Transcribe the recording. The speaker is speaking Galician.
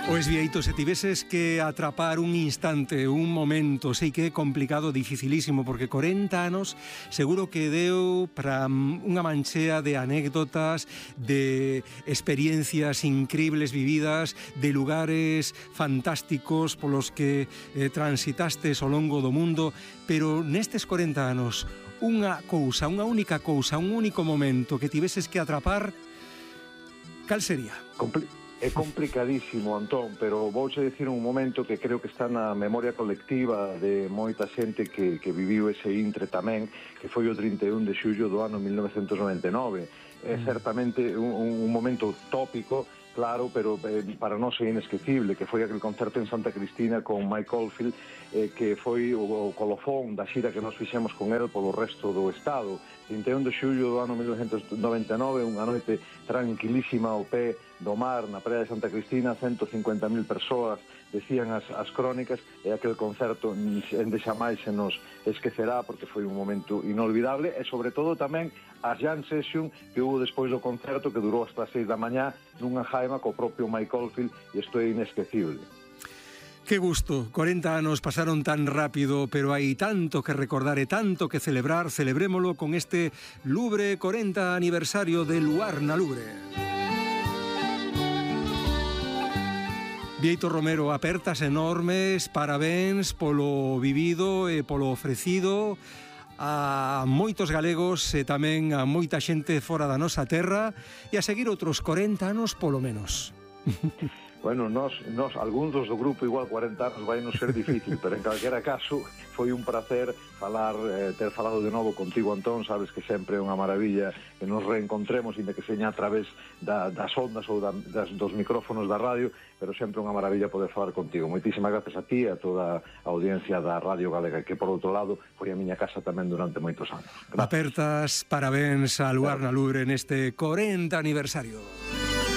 Pois Bieito, se tiveses que atrapar un instante, un momento, sei que é complicado, dificilísimo, porque 40 anos seguro que deu para unha manchea de anécdotas, de experiencias increíbles vividas, de lugares fantásticos polos que transitastes ao longo do mundo, pero nestes 40 anos, unha cousa, unha única cousa, un único momento que tiveses que atrapar, cal sería? É complicadísimo, Antón, pero vouche dicir un momento que creo que está na memoria colectiva de moita xente que viviu ese intre tamén, que foi o 31 de xullo do ano 1999. É certamente un momento tópico, claro, pero para nós é inesquecible, que foi aquel concerto en Santa Cristina con Mike Oldfield, que foi o colofón da xira que nos fixemos con el polo resto do Estado. 31 de xullo do ano 1999, unha noite tranquilísima ao pé do mar, na praia de Santa Cristina, 150.000 persoas, decían as crónicas, e aquel concerto ende xamais se nos esquecerá, porque foi un momento inolvidable, e sobre todo tamén a jam session que hubo despois do concerto, que durou hasta as 6 da mañá, nunha jaima co propio Mike Oldfield, e isto é inesquecible. Que gusto, 40 anos pasaron tan rápido, pero hai tanto que recordar e tanto que celebrar. Celebrémolo con este Lubre 40 aniversario de Luar na Lubre. Bieito Romero, apertas enormes, parabéns polo vivido e polo ofrecido a moitos galegos e tamén a moita xente fora da nosa terra, e a seguir outros 40 anos polo menos. Bueno, nós algúns dos do grupo igual 40 anos vai non ser difícil, pero en calquera caso foi un placer ter falado de novo contigo, Antón. Sabes que sempre é unha maravilla que nos reencontremos, inda que seña a través das ondas ou dos micrófonos da radio, pero sempre unha maravilla poder falar contigo. Moitísimas gracias a ti e a toda a audiencia da Radio Galega, que por outro lado foi a miña casa tamén durante moitos anos. Gracias. Apertas, parabéns a Luar na Lubre neste 40 aniversario.